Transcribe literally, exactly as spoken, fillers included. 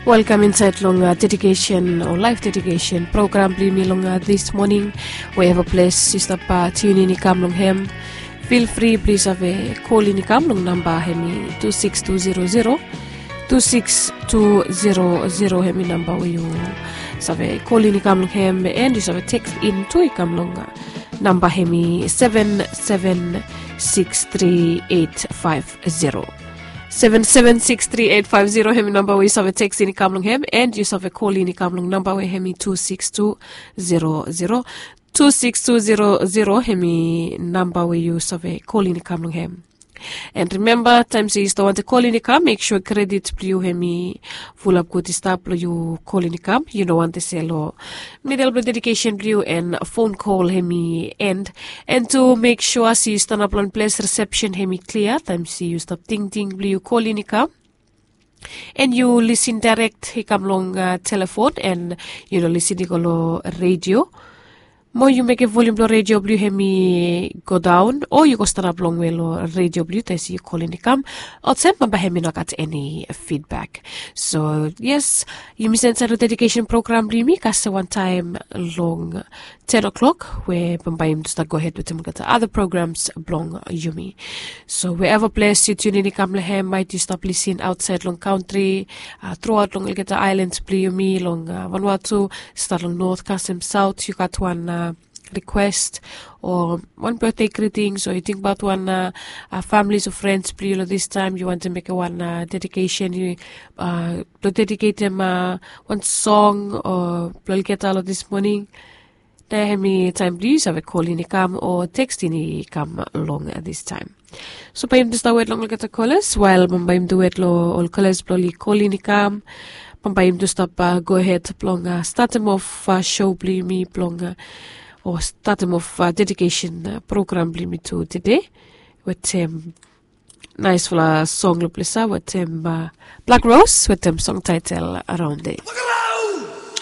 Welkam insaed long dedikesen o laef dedikesen program blong yumi long dis moning. Wherever ples yu stap tiunin i kam long hem, fil fri blong yu save kolin i kam long namba hem i tu siks tu zero zero, tu siks tu zero zero hem i namba we yu save kolin i kam long hem, and yu save teks in tu i kam long namba hem i seven seven six three eight five zero. Seven seven six three eight five zero hem i namba we yu save teks in i kam long hem, and yu save kolin i kam long namba we hem i tu siks tu zero zero. Tu siks tu zero zero hem i namba we yu save kolin i kam long hem. And rimemba, taem se yu stap wantem kolin i kam, mek sua kredit blong yu hem i fulap gud i stap blong yu kolin i kam. Yu no wantem se long midel blong dedikesen blong yu and fon kol hem i end. And tu mek sua se yu stanap long ples risepsen hem i klia taem se yu stap tingting blong yu kolin i kam. And yu lisin daerek i kam long telefon and yu no lisin i go long redio. Mo yu mekem volium blong redio blong yu hem i go daon, o yu go stanap longwe long redio blong yu taem se yu kolin i kam. Olsem bambae hem i no gat eni fidbak. So yes, yumi stap insaed long dedikesen program blong yumi kasem wantaem long ten o'clock we bambae yumi tu stap gohed wetem olgeta ada programs blong yumi. So wherever ples yu tiunin i kam long hem, maet yu stap lisin aotsaed long kantri, truaot long olgeta aelans blong yumi long Vanuatu, stat long not kasem saot, yu gat wan rikwes o wan betde gritings o yu tingbaot wan famlis o frens blong yu long distaem, yu wantem mekem wan dedikesen blong dediketem wan song o blong olgeta long dis moning, na hem i taem blong yu save kolin i kam o tekstin i kam long distaem. So bae yumi tu stap wet long olgeta kolas wael bambae yumi tu wet long ol kolas blong oli kolin i kam. Bambae yumi tu stap gohed blong statem of sou blong yumi blong o statem of dedikesen program blong yumi tu tede wetem naesfala song long ples ya wetem Blak Ros wetem song taetel Araonde.